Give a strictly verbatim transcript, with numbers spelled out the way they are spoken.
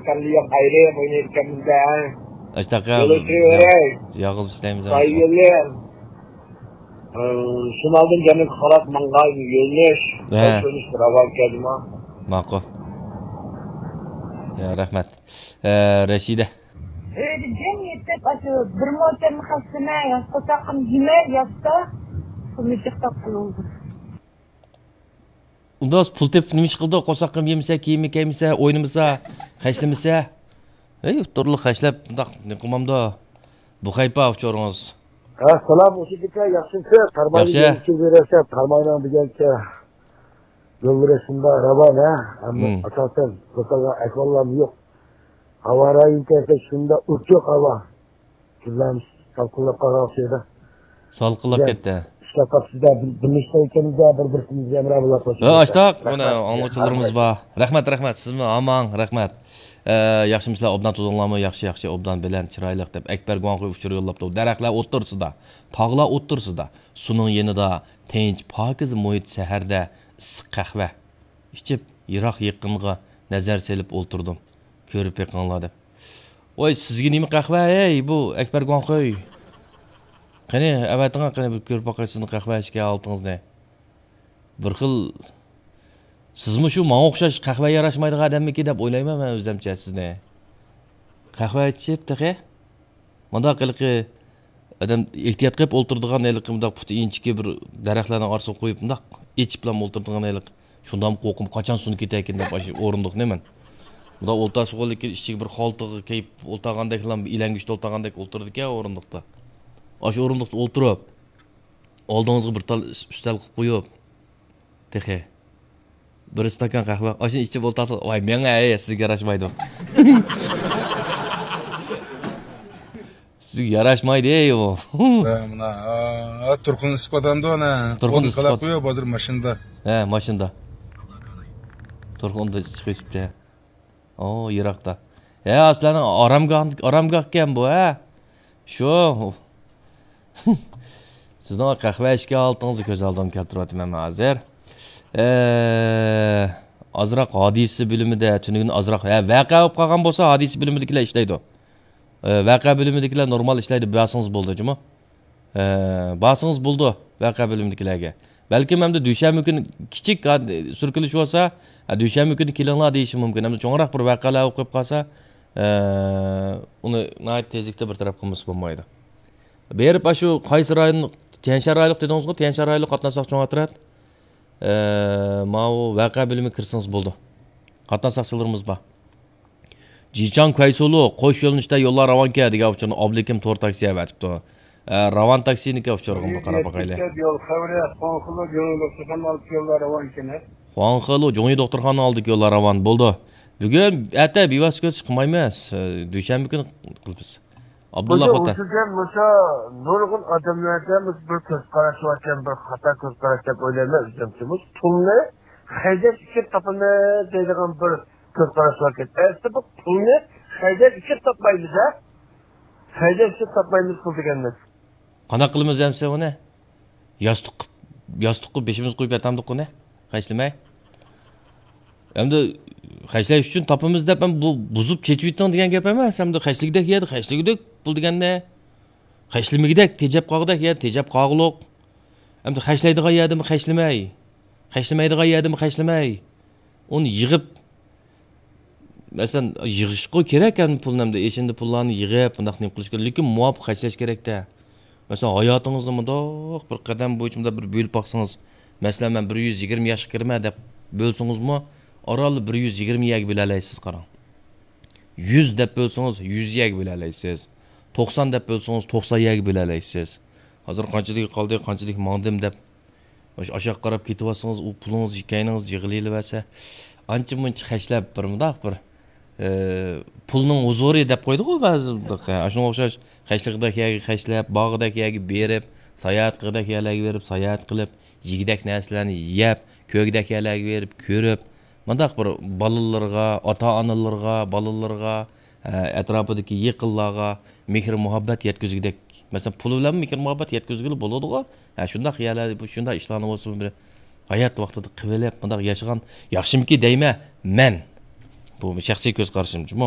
ئەمدى ياق ئايرىم ئوينايدىكەنمىز-دە. ئاشتاق يول ئۆتۈۋېرەي. يالغۇز ئىشلەيمىز. سايىلىم. ئى، شىمالدىن جەنۇبقا قاراپ ماڭغان يۆنىلىش. ھە. يول كۆرۈنۈشى راۋان كەلدىمۇ؟ ماقۇل. يا، رەھمەت. ئە، رەشىدە. ئۆيدە جىم يېتىپ، ئاشۇ بىر موچەم خەسلىمە، ياز قورساققىمۇ يېمەي ياتسا، پۇلنى جىق تاپقىلى بولىدۇ. ئۇنداق پۇل تېپىپ نېمە ئىش قىلىدۇ؟ قورساققىمۇ يېمىسە، كىيىمى كىيمىسە، ئوينىمىسا، خەجلىمىسە. ھەي، تۇرلۇق خەجلەپ، بۇنداق نېمە قىلمامدۇ؟ بۇ خەيپا ئۇچۇرىڭىز. ھە، سالام، ئۇشىدىكە ياخشىمسىز؟ تارماينى ياخشى. يەنچۈ بېرەسەن، تارماينىڭ دېگەنچە يول بېرىشىمدا راۋان، ھە؟ ئەمما مم. ئاساسەن، توسالغان ئەھۋاللارمۇ يوق. ھاۋا رايى كەلسە شۇنداق ئوچۇق ھاۋا. كۈنلەرمۇ سالقىنلاپ قالغان ئوخشايدۇ. سالقىنلاپ كەتتى. ئىشلەپ قاپسىز-دە، بىر، بىر ئىشلەيكەنمىز-دە، بىر-بىرسىمىزگە ھەمراھ بولاپ قويسىڭىز. ئاشتاق، مانا ئاڭلىغۇچىلىرىمىز بار. رەھمەت، رەھمەت. سىزمۇ ئاماڭ، رەھمەت. ئە، ياخشىمۇسىلەر، ئوبدان تۇردۇڭلارمۇ؟ ياخشى، ياخشى، ئوبدان، بەلەن، چىرايلىق، دەپ ئەكبەر گۇاڭخۇي ئۇچۇر يوللاپتۇ. دەرەخلەر ئوتتۇرىسىدا، تاغلار ئوتتۇرىسىدا، سۇنىڭ يېنىدا تىنچ، پاكىز مۇھىت سەھەردە ئىسسىق قەھۋە ئىچىپ، يىراق يېقىنغا نەزەر سېلىپ ئولتۇردۇم. كۆرۈپ بېقىڭلار دەپ. ۋاي، سىزگە نېمە قەھۋە، ھەي، بۇ ئەكبەر گۇاڭخۇي؟ قېنى، ئەۋەتىڭە، قېنى، بىر كۆرۈپ باقاي سىزنىڭ قەھۋە ئىچكەن ھالىتىڭىزنى. بىر خىل، سىزمۇ شۇ ماڭا ئوخشاش قەھۋە ياراشمايدىغان ئادەممىكىن دەپ ئويلايمەن مەن ئۆزەمچە سىزنى. قەھۋە ئىچىپ تېخى؟ مانداق ھېلىقى ئادەم ئېھتىيات قىلىپ ئولتۇرىدىغان ھېلىقى مۇنداق پۇتى ئىنچىكە بىر دەرەخلەرنىڭ ئارىسىغا قويۇپ مۇنداق ئېچىپلا ئولتۇرىدىغان ھېلىقى. شۇنداقمۇ قورقۇم، قاچان سۇنۇپ كېتەركىن دەپ ئاشۇ ئورۇندۇقنى مەن. مۇنداق ئولتۇرسىغۇ لېكىن ئىچىگە بىر خالتىغا كىيىپ ئولتۇرغاندەكلا، ئىلەڭگۈچتە ئولتۇرغاندەك ئولتۇرىدىكەن ئورۇندۇقتا. ئاشۇ ئورۇندۇقتا ئولتۇرۇپ، ئالدىڭىزغا بىر تال ئۈس-، ئۈستەل قىلىپ قويۇپ، تېخى بىر ئىستاكان قەھۋە، ئاشۇنى ئىچىپ ئولتۇرسىڭىز، ۋاي، مېڭە، ھەي، سىزگە ياراشمايدۇ. سىزگە ياراشمايدۇ، ھەي، ئۇ. ھە، مانا، ھە، تۇرخۇن ئىسسىق ئادەمدۇ، ئانا. تۇرخۇن ئىسسىق. قويۇپ، ھازىر ماشىنىدا. ھە، ماشىنىدا. تۇرخۇندا ئىسسىق ئۆتۈپتۇ. ئو، يىراقتا. ھە، سىلەرنىڭ ئارامگاھ، ئارامگاھكەن بۇ، ھە؟ شۇ. سىزنىڭ قەھۋە ئىچكەن ھالىتىڭىزنى كۆز ئالدىغا كەلتۈرۈۋاتىمەن مەن ھازىر. ئە، ئازراق ھادىسە بۆلۈمىدە، تۈنۈگۈن ئازراق، ھە، ۋەقە بولۇپ قالغان بولسا، ھادىسە بۆلۈمىدىكىلەر ئىشلەيدۇ. ئە، ۋەقە بۆلۈمىدىكىلەر نورمال ئىشلەيدۇ، بارسىڭىز بولىدۇ، جۇمۇ. ئە، بارسىڭىز بولىدۇ، ۋەقە بۆلۈمىدىكىلەرگە. بەلكىم ئەمدى دۈشەنبە كۈنى كىچىك ھاد-، سۈركىلىش بولسا، ھە، دۈشەنبە كۈنى كېلىڭلار دېيىشى مۇمكىن. ئەمدى چوڭراق بىر ۋەقەلەر بولۇپ قېلىپ قالسا، ئە، ئۇنى ناھايىتى تېزلىكتە بىر تەرەپ قىلمىسا بولمايدۇ. بېرىپ، ئاشۇ قايسى رايون، تيەنشان رايونلۇق دېدىڭىزغۇ، تيەنشان رايونلۇق قاتناش ساقچى ئوترەت. ئە، ماۋۇ ۋەقە بۆلۈمىگە كىرسىڭىز بولىدۇ. قاتناش ساقچىلىرىمىز بار. جىچاڭ كۇەيسۇلۇ، قوش يۆنىلىشتە يوللار راۋانكەن دېگەن ئۇچۇرنى ئابلىكىم تور تاكسى ئەۋەتىپتۇ. ئە، راۋان تاكسىنىڭكى ئۇچۇرىغىمۇ قاراپ باقايلى. يول خەۋىرى، خۇاڭخېلۇ جۇڭيى دوختۇرخانا ئالدىدىكى يوللار راۋانكەن. خۇاڭخېلۇ جۇڭيى دوختۇرخانا ئالدىدىكى يوللار راۋان بولدى. بۈگۈن، ئەتە بىۋاسىتە كۆچۈش قىلمايمىز. ئە، دۈشەنبە كۈنى قىلىمىز. ئابدۇللا خوتەن. مۇشۇ، مۇشۇ نۇرغۇن ئادەملەردە مۇشۇ بىر كۆز قاراش باركەن، بىر خاتا كۆز قاراش دەپ ئويلايمەن ئۆزۈمچە. مۇشۇ پۇلنى خەجلەش ئۈچۈن تاپىمىز دەيدىغان بىر كۆز قاراش باركەن. ئەسلى بۇ پۇلنى خەجلەش ئۈچۈن تاپمايمىز-ھە. خەجلەش ئۈچۈن تاپمايمىز پۇل دېگەننى. قانداق قىلىمىز ئەمسە ئۇنى؟ ياستۇق، ياستۇققا بېشىمىزنى قويۇپ ياتامدۇق ئۇنى؟ خەجلىمەي. ئەمدى خەجلەش ئۈچۈن تاپىمىز دەپ، ئەمدى بۇ بۇزۇپ چېچىۋېتىڭ دېگەن گەپ ئەمەس. ئەمدى خەجلىگۈدەك يەردە خەجلىگۈدەك پۇل دېگەندە، خەجلىمىگۈدەك، تېجەپ قالغۇدەك يەردە تېجەپ قالغۇلۇق. ئەمدى خەجلەيدىغان يەردىمۇ خەجلىمەي، خەجلىمەيدىغان يەردىمۇ خەجلىمەي. ئۇنى يىغىپ، مەسىلەن، يىغىشقا كېرەك ھەم پۇلنى، ئەمدى ئېشىندى پۇللارنى يىغىپ، بۇنداق نېمە قىلىش كېرەك. لېكىن مۇۋاپىق خەجلەش كېرەكتە. مەسىلەن، ھاياتىڭىزنى مۇنداق بىر قەدەم بويىچە مۇنداق بىر بۆلۈپ باقسىڭىز، مەسىلەن، مەن بىر يۈز يىگىرمە ياشقا كىرىمەن دەپ بۆلسىڭىزمۇ، ئاران بىر يۈز يىگىرمە يەرگە بۆلەلەيسىز، قاراڭ. يۈز دەپ بۆلسىڭىز، يۈز يەرگە بۆلەلەيسىز. توقسان دەپ بۆلسىڭىز، توقسان يەرگە بۆلەلەيسىز. ھازىر قانچىلىك قالدى، قانچىلىك ماڭدىم دەپ، مۇشۇ ئاشاق قاراپ كېتىۋاتسىڭىز، ئۇ پۇلىڭىز، كەينىڭىز يىغىلىۋەرسە، ئانچە مۇنچە خەجلەپ، بىر مۇنداق بىر، ئى، پۇلنىڭ ھۇزۇرى دەپ قويدىغۇ بەزى، ئاشۇنىڭغا ئوخشاش خەجلىگۈدەك يەرگە خەجلەپ، بارغۇدەك يەرگە بېرىپ، ساياھەت قىلغۇدەك يەرلەرگە بېرىپ، ساياھەت قىلىپ، يېگۈدەك نەرسىلەرنى يەپ، كۆرگۈدەك يەرلەرگە بېرىپ، كۆرۈپ، مۇنداق بىر بالىلىرىغا، ئاتا-ئانىلىرىغا، بالىلىرىغا، ئە، ئەتراپىدىكى يېقىنلارغا مېھىر-مۇھەببەت يەتكۈزگۈدەك. مەسىلەن، پۇل بىلەنمۇ مېھىر-مۇھەببەت يەتكۈزگىلى بولىدىغۇ. ھە، شۇنداق يەرلەردە، بۇ، شۇنداق ئىشلارنى بولسا بىر ھايات ۋاقتىدا قىلىۋېلىپ، مۇنداق ياشىغان ياخشىمىكى دەيمەن مەن. بۇ شەخسىي كۆز قارىشىم جۇمۇ.